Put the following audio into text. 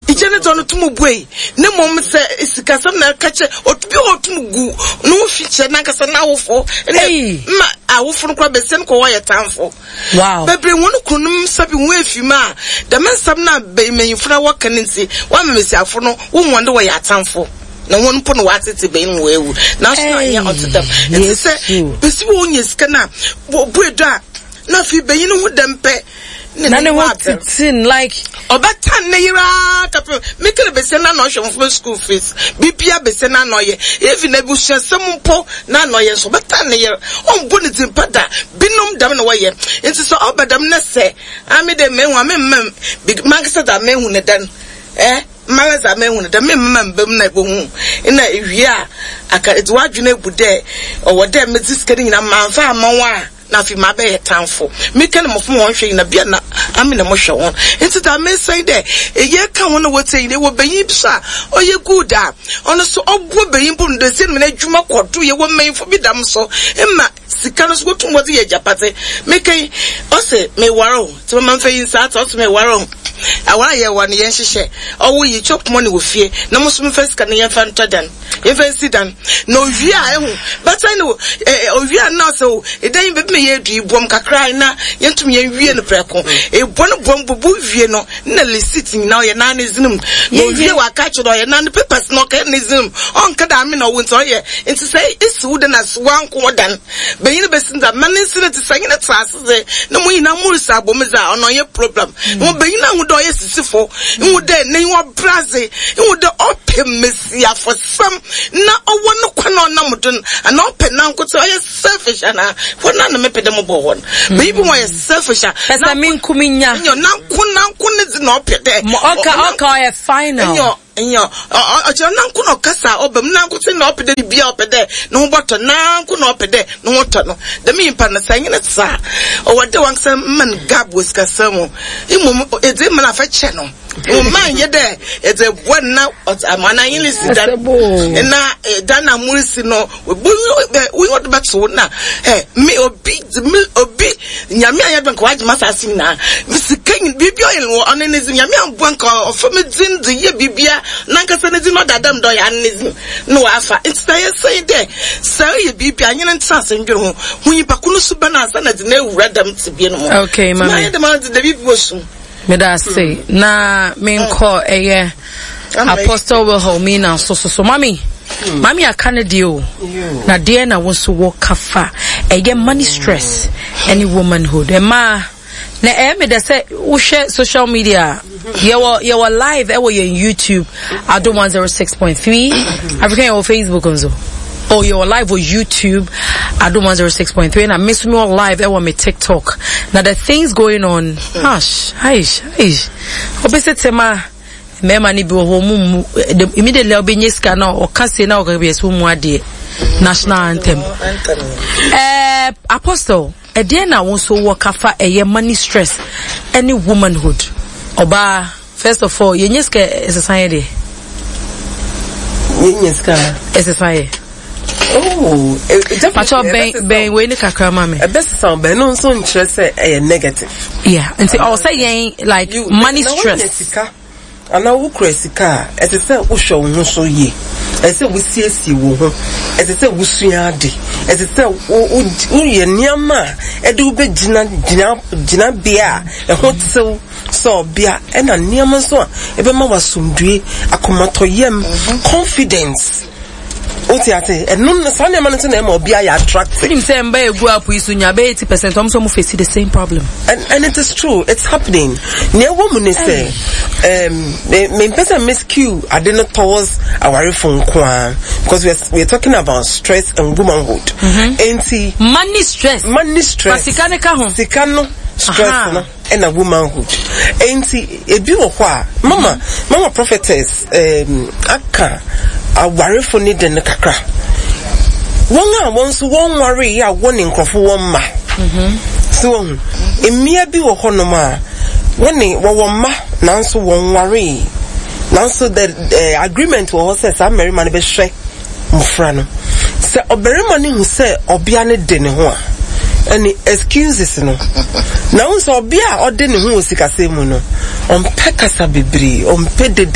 Egya no dze ɔno tum buei, na mbom sɛ sikasɛm na ɛka kyerɛ, obi wɔ hɔ otum gu no ho fi kyerɛ nankasa n'awofo, na ma awofo no koraa besian kɔ wɔyɛ tamfo. Wow. Bebree hɔn kunnom nsa bi hɔn efi mu a, dɛm nsɛm no a mbanyimfo no wɔka no ntsi, wɔama mbasiafo no wohu hɔn dɛ wɔyɛ atamfo. Na hɔn mpo na wɔatsetse banyin ma woewu. Naaso na annyɛ ɔnntse dɛm. Ntsi sɛ besi wɔ onya sika no a, obue do a, na afei banyin no ho dɛm pɛ. Na ne ho tete like. Ɔbɛtan ne yer ara kɛpem mekã dɛ basia no ana ɔhwɛ mbofra school fees, biribiara basia no ana ɔyɛ, even ebusuasɛm mpo na ana ɔyɛ nso ɔbɛtan ne yer, ɔmmbɔ ne dzin pa da. Binom dɛm na wɔyɛ. Ntsi sɛ ɔba dɛm na sɛ ame dɛ mehu a memma mankasa dza mehu no dɛn eh, mara dza mehu no dɛn memma mmba mu na ebohu nna ewie a aka edze w'adwen ebu dɛ ɔwɔ dɛ medze sika no nyina mamfa amma wo a. Na afei mabɛyɛ tamfo. Mekã no mbofra ma wɔnhwɛ nyina, bi a na ame na mohwɛ hɔn. Ntsi dza mesa nye dɛ, yɛkã hɔn a wotsie nyina, ewɔ banyin bi so a ɔyɛ good a, ɔno so ɔboa banyin mpo no dɛ sɛ n'edwuma kɔ do, yɛwɔ mbanyimfo bi dɛm so ma sika no so wotum wɔdze yɛ egyapadze. Mekã yi, ɔse mewar o, ntsi mama mfa yi nsa atse, ɔse mewar o, awar a yɛwar no yɛnhyehyɛ, ɔwo yi chop money wɔ fie na mo so memfa sika no yɛmfa ntɔ dan. Yɛmfa nsi dan. Na owie a ehu bɛtɛn no eh, owie a na ɔsɛ o ɛdan yi baabi ma yɛadu yi boam kakra na yɛntum yɛnwie no prɛko. Ebɔ no boam bubu wie no na receipt nyinaa ɔyɛ naa ne zini mu. Na owie waka akyerɛ no ɔyɛ naa ne papers na ɔka ne zini mu. Ɔnka da ame na ɔwo nti ɔyɛ nti sɛ esi wo dan ase wanko wo dan. Banyin besi dza ma ne nsi no te sɛ nyene tra ase dze na mo nyinaa mo resi abɔ mu dze a ɔno ɔnnyɛ problem. Mo banyin ahu dɛ ɔyɛ sisifo, ihu dɛ n'enyiwa ber adze, ihu dɛ ɔpɛ mesiafosɛm na ɔwɔ no kwan a ɔnam do no anaa ɔpɛ nankotsee ɔyɛ selfish anaa hɔ no na mepɛ dɛ mobɔ hɔ no. Banyin bi ho ɔyɛ selfish a. Pɛ sɛ me nko menya. Nyew, nanko nanko ne dze na ɔpɛ dɛ. Ɔka ɔka ɔyɛ final. Nyew. Nyew, ɔkyerɛ nanko na ɔkasa a ɔba mu, nankotsee na ɔpɛ dɛ biribiara ɔpɛ dɛ no ho bɔtɔ, nanko na ɔpɛ dɛ no ho tɔ no. Dɛm nyimpa no, sɛ enye no tse a, ɔwɔ dɛ wankasa ma no gap wɔ sikasɛm mu. Mbom edze ma no a, fa kyɛ no. Mma nnyɛ dɛ edze boa no na ɔdze ama anaa enye no si dan na dan a morisi no, wo de bɛto wo na me obi me obi Nyame anyɛ adom nka wagye m'asaase nyinaa, me sika nyina, biribi ɔyɛ no wɔ ɔno ne dzin, Nyame amboa nka ɔfa me dzin dze yɛ biribia, nankasa ne dzin na ɔda dɛm dɛ ɔyɛ ano ne dzin na ɔafa. Ntsi sɛ yɛsɛ nye dɛ sɛ eyɛ biribi a nye no ntsena ase ndwen ho, hu nyimpa ko no suban ansa na edze no ewura dɛm tsebea no mu. Okay, Ntsi mami. mayɛ dɛm ara dze dɛ biribi wɔ sum. Meda ase na menkɔ ɛyɛ Apostle Wilhelmina nso so so mami mami aka ne deɛ o na deɛ na wo nso wɔ ka fa ɛyɛ money stress ɛne womanhood ɛmaa na ɛyɛ me dɛ sɛ wohwɛ social media yɛwɔ yɛwɔ live ɛwɔ yɛn YouTube Adom 106.3 African yɛwɔ Facebook nso. Oh, you're live on YouTube, Adom 106.3, and I miss me on live on my TikTok. Now the things going on, hush, aish, aish. Obese tema, mmarima no bi wɔ hɔ ɔmo mu immediately a ɔbɛnya sika na ɔka se na ɔka bi ɛsɛ ɔmu adeɛ national anthem ɛɛ apostle ɛdeɛ na wɔn nso wɔ kafa ɛyɛ money stress ɛne womanhood ɔbaa. First of all, yɛnyɛ sika ɛsesa yɛ deɛ. Yɛnyɛ sika. Ɛsesa yɛ. Oh, eh, eh, Pacho bɛn bɛn wei ne kakra ma me. Ɛbɛsesa bɛn no nso nkyerɛ sɛ ɛyɛ negative. Yeah, nti ɔwɔ sɛ yɛn like you, money na stress. Na sika anaa wokura sika a ɛsɛ sɛ wohwɛ wo ho so yie ɛsɛ sɛ wosiesie wo ho ɛsɛ sɛ wosua ade ɛsɛ sɛ woyɛ nneɛma a ɛde wobɛgyina gyina gyinabea a ɛho tew Sɛ ɔbea, ɛna nneɛma nso a ɛbɛma wo asomdwoe, akomatɔyam, confidence. Wote ase? Ɛno no, saa nneɛma no nso na ɛma ɔbea yɛ attractive. Wonim sɛ mba egu app yi so nya bɛyɛ 80% ɔmo sɛ ɔmo face the same problem. And it is true, it's happening. Nea ɛwɔ mu ne sɛ, um, mempɛ sɛ me skew ade no towards awarefo nko ara because we are, we are talking about stress and womanhood. Enti Money stress. Money stress. Fa sika no ka ho. Sika no stress no. Ɛna womanhood. Enti ebi wɔ hɔ a mama mama prophetess um, aka awarefo ne de no kakra. Wɔn a wɔn nso wɔn nwaree a wɔne nkurɔfo wɔn mma. Mm-hmm. So wɔn mmea bi wɔ hɔnom a wɔne wɔwɔ mma nanso wɔn nwaree. Nanso the uh, agreement wɔ hɔ sɛ saa mmarima no bɛhwɛ mmofra no. Sɛ ɔbarima no hu sɛ ɔbea no de ne ho a, ɛne excuses no. Na wohu sɛ ɔbea a ɔde ne ho wɔ sikasɛm mu no, ɔmpɛ kasa bebree, ɔmpɛ dede.